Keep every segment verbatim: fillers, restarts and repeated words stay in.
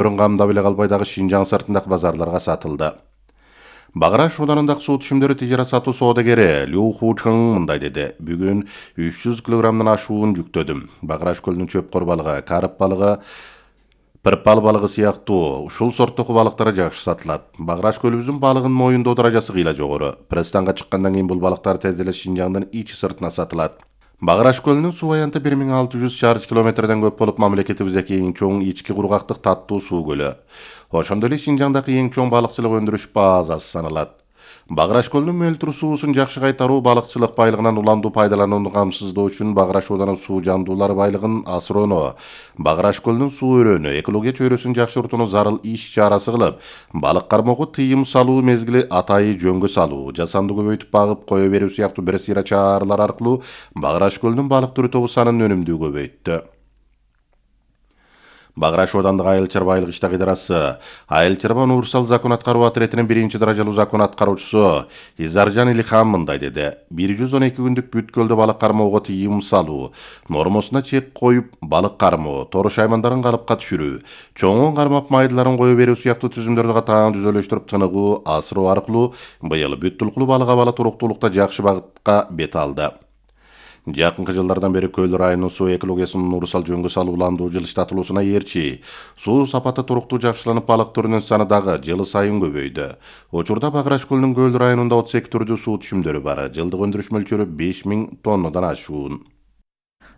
камдап эле калбай дагы Шинжаң сыртындагы базарларга сатылды. Баграш ауданындагы суу түшүмдөрү тижара сатуу соодагери Лю Хучың мындай деди. Бүгүн үч жүз килограммдан ашуун жүктөдүм. Баграш көлүнүн чөпкор балыгы, карып балыгы, пырпал балыгы сыяктуу ушул сорттогу балыктар жакшы сатылат. Баграш көлүбүздүн балыгынын моюндоо даражасы кыйла жогору. Пресстанга чыккандан кийин бул балыктар тез эле Шинжаңдын ичи сыртына сатылат. Баграш көлүнүн суу аянты бир миң алты жүз чарчы километрден көп болуп, мамлекетибиздеги эң чоң ички кургактык таттуу суу көлү. Ошондой эле Шинжаңдагы эң чоң балыкчылык өндүрүш базасы саналат. Баграш көлүнүн мөлтүр суусун жакшы кайтаруу балыкчылык байлыгынан уламдуу пайдаланууну камсыздоо үчүн Баграш ауданын суу жандуулар байлыгын асыроону, Баграш көлүнүн суу өрөөнү, экология чөйрөсүн жакшыртууну зарыл иш чарасы кылып, балык кармоого тыйым салуу мезгили атайы жөнгө салуу, жасанды көбөйтүп багып кое берүү сыяктуу бир сыйра чаралар аркылуу Баграш көлүнүн балык түрү тобу санын өнүмдүү көбөйттү. Баграш аудандык Айыл чарбайлык иштер идарасы Айыл чарба универсал закон аткаруу отрядынын биринчи даражалуу закон аткаруучусу Изаржан Илихан мындай деди. бир жүз он эки күндүк бүт көлдө балык кармоого тыйым салуу, нормосуна чек коюп балык кармоо, торуш аймандарын калыпка түшүрүү, чоңун кармап майдыларын кое берүү сыяктуу түзүмдөрдү катаан жүзөлөштүрүп тыныгуу асыроо аркылуу быйыл бүт тулкулуу балык абалы туруктуулукта жакшы багытка бет алды. Жакынкы жылдардан бери Көл районунун суу экологиясынын урусал жөнгө салуу уламдуу жылыштатылуусуна ээрчи суу сапаты туруктуу жакшыланып, балык түрүнүн саны дагы жыл сайын көбөйдү. Учурда Баграш көлүнүн Көл районунда отуз эки түрдүү суу түшүмдөрү бар. Жылдык өндүрүш мөлчөрү беш миң тоннадан ашуун.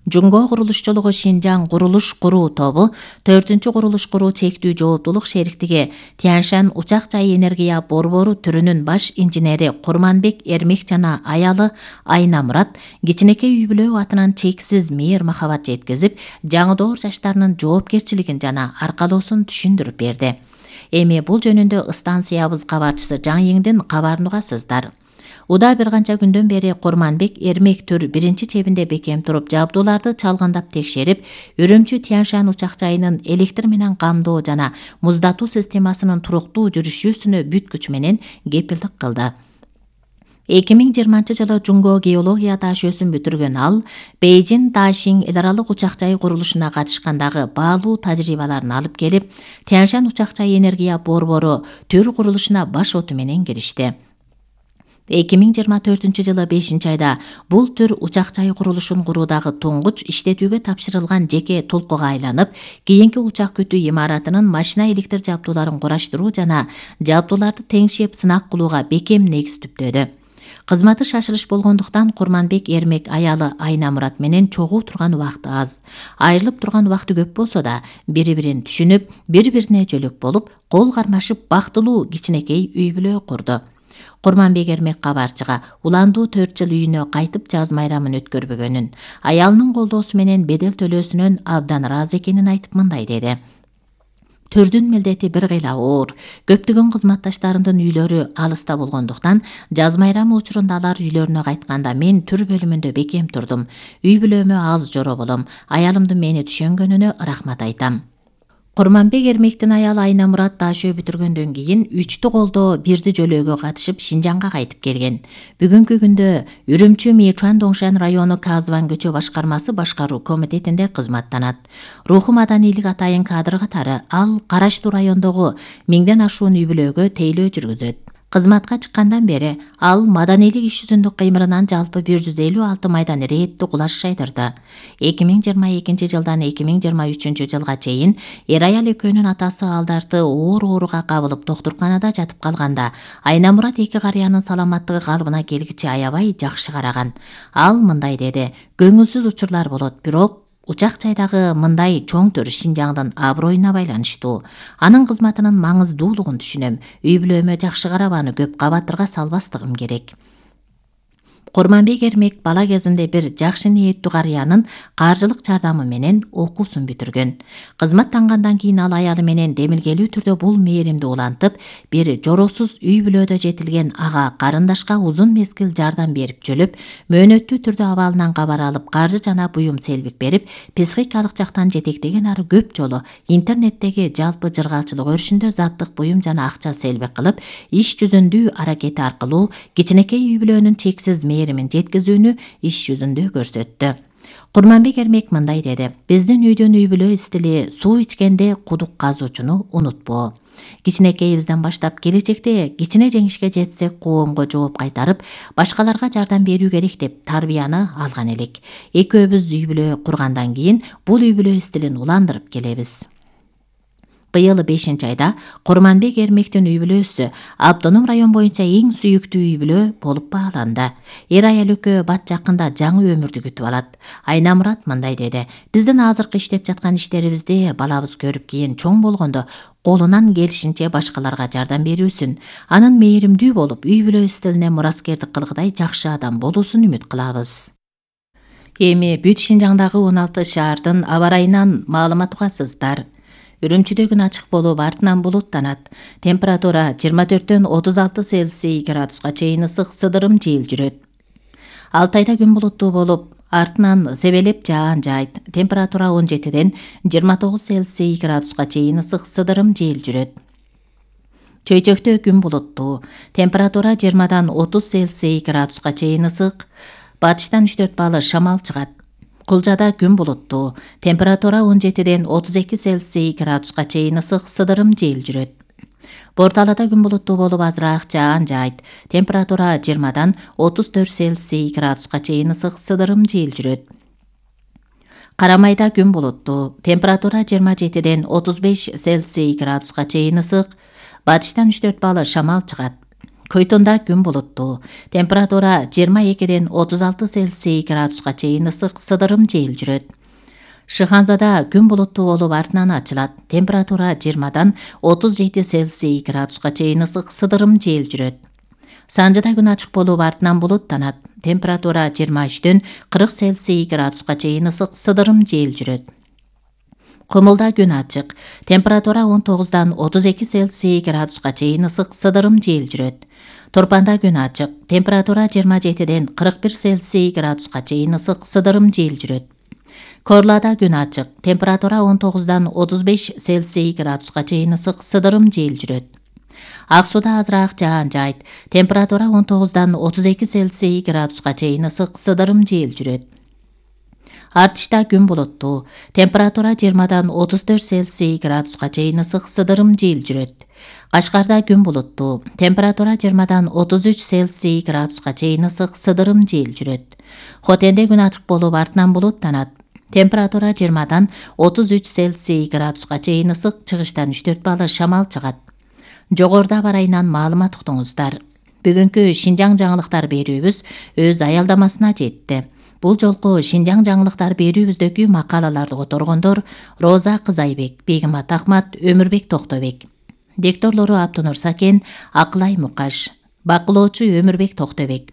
Жумго курулушчулугу Шинжаң курулуш куруу тобу төртүнчү курулуш куруу чектүү жооптуулук шериктиги Тяньшан учак жай энергия борбору түрүнүн баш инженери Курманбек Эрмек жана аялы Айна Мурат кичинекей үй бүлө атынан чексиз мээр махабат жеткизип, жаңы доор жаштарынын жоопкерчилигин жана аркалоосун түшүндүрүп берди. Эми бул жөнүндө станциябыз кабарчысы Жаңйыңдын кабарын угасыздар. Уда бир канча күндөн бери Курманбек Эрмек түр биринчи чебинде бекем туруп, жабдууларды чалгандап текшерип, Үрүмчү Тяньшан учак жайынын электр менен камдоо жана муздатуу системасынын туруктуу жүрүшүүсүнө бүт күч менен кепилдик кылды. эки миң жыйырманчы жылы Жумго геология дашөөсүн бүтүргөн ал, Бейжин Дашиң эл аралык учак жай курулушуна катышкандагы баалуу тажрыйбаларын алып келип, Тяньшан учак жай энергия борбору түр курулушуна баш оту менен киришти. эки миң жыйырма төртүнчү жылы бешинчи айда бул түр учак жай курулушун куруудагы туңгуч иштетүүгө тапшырылган жеке толкуга айланып, кийинки учак күтүү имаратынын машина электр жабдууларын кураштыруу жана жабдууларды теңшеп сынак кылууга бекем негиз түптөдү. Кызматы шашылыш болгондуктан Курманбек Эрмек аялы Айна Мурат менен чогуу турган убакыты аз. Айрылып турган убакыты көп болсо да, бири-бирин түшүнүп, бири-бирине жөлөк болуп, кол кармашып бактылуу кичинекей үй бүлө курду. Курманбек Эрмек кабарчыга уландуу төрт жыл үйүнө кайтып жаз майрамын өткөрбөгөнүн, аялынын колдоосу менен бедел төлөөсүнөн абдан ыраазы экенин айтып мындай деди. Түрдүн милдети бир кыйла оор. Көптөгөн кызматташтарымдын үйлөрү алыста болгондуктан, жаз майрамы учурунда алар үйлөрүнө кайтканда мен түр бөлүмүндө бекем турдум. Үй бүлөмө аз жоро болом. Аялымдын мени түшөнгөнүнө рахмат айтам. Курманбек Эрмектин аялы Айна Мурат дашөө бүтүргөндөн кийин үчтү колдоо бирди жөлөөгө катышып Шинжаңга кайтып келген. Бүгүнкү күндө Үрүмчү Мичуан Доңшан району Казван көчө башкармасы башкаруу комитетинде кызматтанат. Руху маданийлик атайын кадр катары ал Караштуу райондогу миңден ашуун үй бүлөгө тейлөө жүргүзөт. Кызматка чыккандан бери ал маданийлик иш жүзүндүк кыймылынан жалпы бир жүз элүү алты майдан рейдти кулаш жайдырды. эки миң жыйырма экинчи жылдан эки миң жыйырма үчүнчү жылга чейин эр аял экөөнүн атасы алдарды оор ооруга кабылып доктурканада жатып калганда, Айна Мурат эки карыянын саламаттыгы калыбына келгиче аябай жакшы караган. Ал мындай деди: "Көңүлсүз учурлар болот, бирок учак жайдагы мындай чоң түр Шинжаңдын аброюна байланыштуу. Анын кызматынын маңыздуулугун түшүнөм. Үй бүлөмө жакшы карабаны көп кабаттырга салбастыгым керек." Курманбек Эрмек бала кезинде бир жакшы ниеттүү карыянын каржылык жардамы менен окуусун бүтүргөн. Кызматтангандан кийин ал аялы менен демилгелүү түрдө бул мээримди улантып, бир жоросуз үй бүлөдө жетилген ага карындашка узун мезгил жардам берип жөлөп, мөөнөттүү түрдө абалынан кабар алып, каржы жана буюм селбик берип, психикалык жактан жетектеген ары көп жолу интернеттеги жалпы жыргалчылык өрүшүндө заттык буюм жана акча селбик кылып, иш жүзүндүү аракети аркылуу кичинекей үй бүлөнүн чексиз мээримин жеткизүүнү иш жүзүндө көрсөттү. Курманбек Эрмек мындай деди: биздин үйдөн үй бүлө стили суу ичкенде кудук казуучуну унутпоо. Кичинекейибизден баштап келечекте кичине жеңишке жетсек коомго жооп кайтарып, башкаларга жардам берүү керек деп тарбияны алган элек. Экөөбүз үй бүлө кургандан кийин бул үй бүлө стилин уландырып келебиз. Быйыл бешинчи айда Курманбек Эрмектин үй бүлөсү Автоном район боюнча эң сүйүктүү үй бүлө болуп бааланды. Эр аял экөө бат жакында жаңы өмүрдү күтүп алат. Айна Мурат мындай деди: биздин азыркы иштеп жаткан иштерибизди балабыз көрүп кийин чоң болгондо колунан келишинче башкаларга жардам берүүсүн, анын мээримдүү болуп, үй бүлө стилине мураскердик кылгыдай жакшы адам болуусун үмүт кылабыз. Эми бүт Шинжаңдагы он алты шаардын аба ырайынан маалымат угасыздар. Үрүмчүдө күн ачык болуп, артынан булуттанат. Температура жыйырма төрттөн отуз алты Цельсий градуска чейин ысык сыдырым жел жүрөт. Алтайда күн булуттуу болуп, артынан себелеп жаан жайт. Температура он жетиден жыйырма тогуз Цельсий градуска чейин ысык сыдырым жел жүрөт. Чөйчөктө күн булуттуу. Температура жыйырмадан отуз Цельсий градуска чейин ысык. Батыштан үч төрт балы шамал чыгат. Кулжада күн булуттуу. Температура он жетиден отуз эки Цельсий градуска чейин ысык сыдырым жел жүрөт. Борталада күн булуттуу болуп, азыраак жаан жайт. Температура жыйырмадан отуз төрт Цельсий градуска чейин ысык сыдырым жел жүрөт. Карамайда күн булуттуу. Температура жыйырма жетиден отуз беш Цельсий градуска чейин ысык. Батыштан үч төрт балы шамал чыгат. Көйтүндө күн булуттуу. Температура жыйырма экиден отуз алты Цельсий градуска чейин ысык сыдырым жел жүрөт. Шыханзада күн булуттуу болуп, артынан ачылат. Температура жыйырмадан отуз жети Цельсий градуска чейин ысык сыдырым жел жүрөт. Санжыда күн ачык болуп, артынан булуттанат. Температура жыйырма үчтөн кырк Цельсий градуска чейин ысык сыдырым жел жүрөт. Кумулда күн ачык. Температура он тогуздан отуз эки Цельсий градуска чейин ысык сыдырым жел жүрөт. Торпанда күн ачык. Температура жыйырма жетиден кырк бир Цельсий градуска чейин ысык сыдырым жел жүрөт. Корлада күн ачык. Температура он тогуздан отуз беш Цельсий градуска чейин ысык сыдырым жел жүрөт. Ак сууда азыраак жаан жайт. Температура он тогуздан отуз эки Цельсий градуска чейин ысык сыдырым жел жүрөт. Артышта күн булуттуу. Температура жыйырмадан отуз төрт Цельсий градуска чейин ысык сыдырым жел жүрөт. Кашкарда күн булуттуу. Температура жыйырмадан отуз үч Цельсий градуска чейин ысык сыдырым жел жүрөт. Хотенде күн ачык болуп, артынан булуттанат. Температура жыйырмадан отуз үч Цельсий градуска чейин ысык, чыгыштан үч төрт балы шамал чыгат. Жогоруда аба ырайынан маалымат уктуңуздар. Бүгүнкү Шинжаң жаңылыктар берүүбүз өз аялдамасына жетти. Бул жолку Шинжаң жаңылыктар берүүбүздөгү макалаларды которгондор Роза Кызайбек, Бегимат Ахмат, Өмүрбек Токтобек. Дикторлору Аптонур Сакен, Акылай Мукаш. Бакылоочу Өмүрбек Токтобек.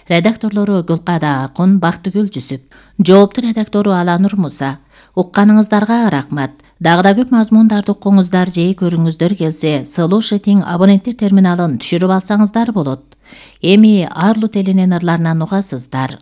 Редакторлору Гүлкада Акун, Бактыгүл Жүсүп. Жоопту редактору Аланур Муса. Укканыңыздарга рахмат. Дагы да көп мазмундарды укуңуздар же көрүңүздөр келсе, Слушатиң абоненттер терминалын түшүрүп алсаңыздар болот. Эми Арлут элинин ырларынан угасыздар.